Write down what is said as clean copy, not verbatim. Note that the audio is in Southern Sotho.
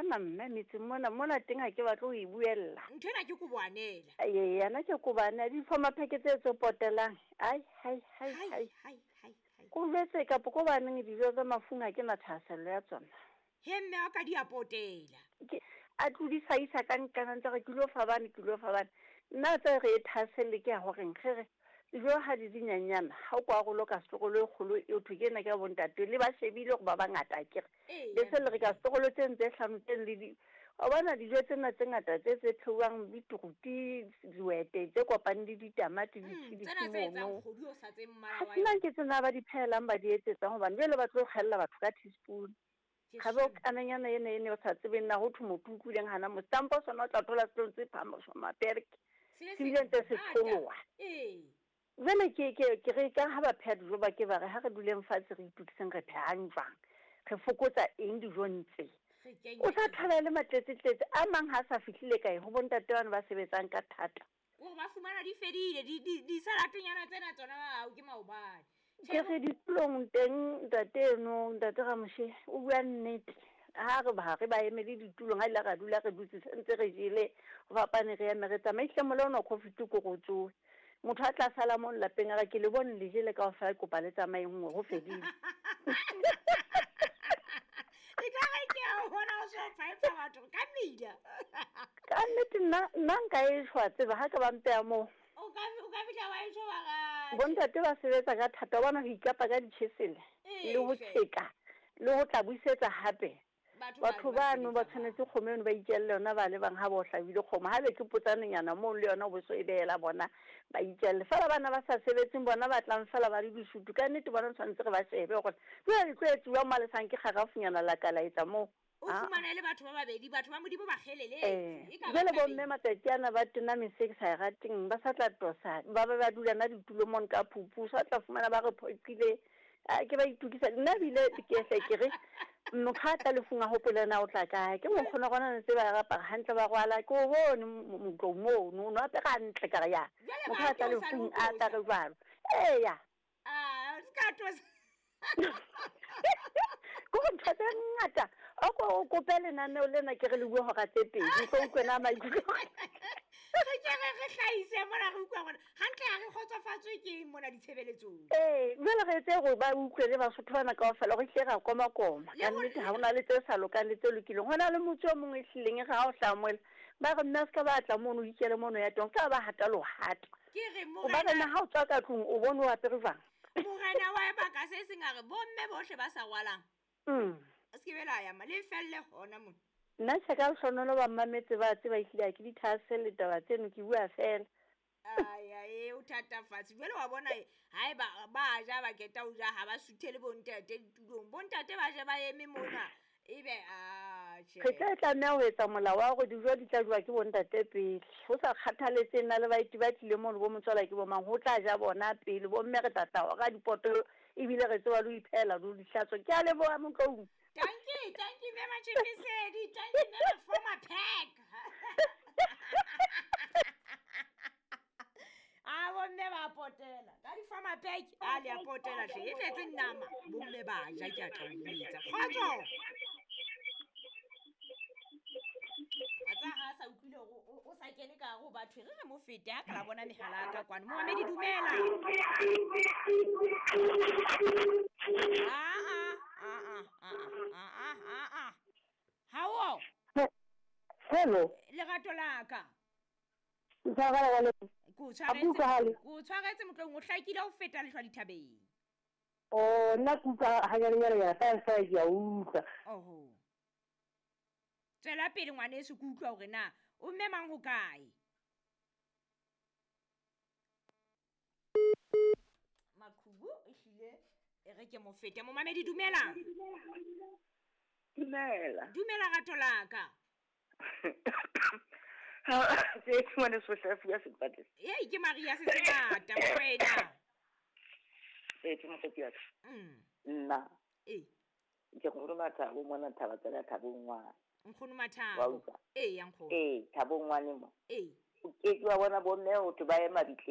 tshwana mme metseng mona mona teng ha ke batle ho e buella. Ntho ena ke koboanela. Ee, yana ke koboanela di-former pack tse tse potelang. Ai hai hai hai. Hai hai hai. Ko jwetse kapo ko baneng dijo tsa mafung ha ke na thahasello ya tsona. He mme wa ka di a potela. Ke a tlodisa isa ka nqana ntse re ke lo fa bane ke lo fa bane. Nna tse re e thahaselle ke ya horeng ge re dijo ha di dinyenyana ha o kwa rolo ka setlogolo e kgolo e thwe ke ena ke ya bontate le ba shebile gore ba bangata akere. Le se le re ka setlogolo tse tse hlano tse le di wa bona dijo tsena tse ngata tse tse pheuwang beetroot diwete tse kopaneng le ditamati Tsena tse etsang mono. kgodu o sa tseng mmala Ha wa sena yona. ke tsena ba di phelang ba di etsetsang hobane jwale ba tlo kgella batho ka teaspoon. Ke Ga bo shame. kananyana ena ene o sa tsebeng na ho thwe motho o utlwileng hana mo stampo sona o tla thola se ntse phama mapereke. Se le Se bile ntse se sengata. tsholoha. Ee. Jwale ke ke ke re ka ha ba pheha dijo ba ke ba re ha re duleng fatshe re itokiseng re phehang jwang. Re fokotsa eng dijong tse. Re kenye O sa eng? thola le matletsetletse a mang ha sa fihlile kae ho bontate bana ba sebetsang ka thata. Hore ba fumana di fedile di di di salatenyana tsena tsona ao ke maobane. Ke re ditulong teng ntate eno ntate Ramoshe o bua nnete. Ha re ba re ba emele ditulong ha ile ra dula re dutse sentse re jele ho fapane re eme re tsamaye ehlile mola ona covid ko go tsohe. Motho a tla sala mo lapeng a re ke le bone le jele kaofela ke kopa le tsamayeng nngwe ho fedile. E ka re ke a o bona o so phaepha batho ka mmila. Ka nnete nna nna nka e shwa tseba ha ka ba mpeha moo. O ka o ka fihla wa e tjho wa ra. Bontate ba sebetsa ka thata wa bona ho ikapa ka ditjhesele Ee, le ho hle. tjheka le ho tla buisetsa hape. Batho Batho bano ba tshwanetse kgomo eno ba itjelle yona ba le bang ha ba o hlabile kgomo. Ha be ke potsanenyana moo le yona o bo so e behela bona ba itjelle. Feela bana ba sa sebetseng bona ba tlang feela ba le disutu ka nnete bona tshwanetse re ba shebe hore jwale le tlo etsuwa mo le sanke kgarafunyana la ka la etsa moo. O fumane le batho ba babedi batho ba Modimo ba kgeleletse. E ka ba Jwale tabeng. bomme matsatsi ana ba tena mese ke sa e rateng ba sa tla tosa ba ba ba dula na ditulo mono ka phupu sa tla fumana ba re phoqile a ke ba itokisa nna bile ke hle ke re motho ha tla lefung a hopole na o tla kae ke mokgona gona ntse ba apara hantle ba rwala ke o bone motlong mono o no apere hantle ka re ya Jwale motho ba ha tla tosa le lefung ho a tla re tosa. jwalo eya. Ah, se ka tosa. Ke go ntho tse ngata o ko o kope lenaneo lena ke re le bue hora tse pedi o tlo utlwe na maikutlo. Re ke re re hlahise mona re utlwa hore hantle ha re kgotsofatswe ke eng mona ditshebeletsong. Ee, jwale re etse hore ba utlwe le Basotho bana kaofela hore ehlile ra komakoma. Le Ka ho nnete ha hona le tse sa lokang le tse lokileng. Ho na le motse o mong e hlileng e re ha o hlaha mola ba re mme a se ka ba tla mono o ikele mono ya teng, o ska ba hata lohata. Ke re O ba re morena na ha o tswa ka tlung o bone o apere jwang? Morena wa baka se seng a re bomme bohle ba sa rwalang. Se ke be la ya ma le felle hona mona. Nna tjhe ka lehlohonolo ba mmametse ba tseba ehlile ha ke di thahaselle taba tseno ke bua fela. Ai ai o thatafatse. Jwale wa bona haeba ba ja ba keta ho ja ha ba suthele bontate ditulong. Bontate ba je ba eme mona ebe a tjhe. Re tla tlameha ho etsa molao wa hore dijo di tla jowa ke bontate pele. Ho sa kgathaletseng na le baeti ba tlileng mono bo motswala ke bo mang ho tla ja bona pele. Bomme re tla tla hora dipoto ebile re tseba le ho iphehela le ho di hlatswa. Ke a leboha Motlou. Dankie, dankie mme Matshifisedi, dankie mme former pack. A bomme ba potela. Ka di former pack a le a potela hle. E tletse nama. Bomme ba ja ke a tla o jwetsa. Kgotso. A tsa ha sa utlwile hore o sa kene ka hare ho batho re re mo fete ha ka la bona mehala ya ka kwano. Momamedi dumela. Ah ah ah ah ah ah ah ah. Hawo. Hello. Lerato la ka. Ntshwarela Ke o Ha tshwaretse. utlwahale. Ke o tshwaretse motlong o hlakile ho feta lehlwa dithabeng. Oh, nna ke utlwa hanyanenyana ya fela fela ke a utlwa. Oho. Tswela pele ngwaneso ke utlwa hore na o mme mang ho kae? Maqhubu ehlile e re ke mo fete. Momamedi dumela. Dumela. Dumela rato la ka. Tse ngwaneso Hlafu ya sepetlele. Ei ke Maria se sengata mokwena. Ee, mokgotsi wa ka. Nna. Ee. Ke nkgono Mathabo mona Thaba tsela Thabo ngwana. Nkgono Wa Mathabo. utlwa? Ee, ya nkgono. Ee, Thabo ngwane mo. Ee. O ke ke wa bona bomme ho thwe ba ye mabitleng.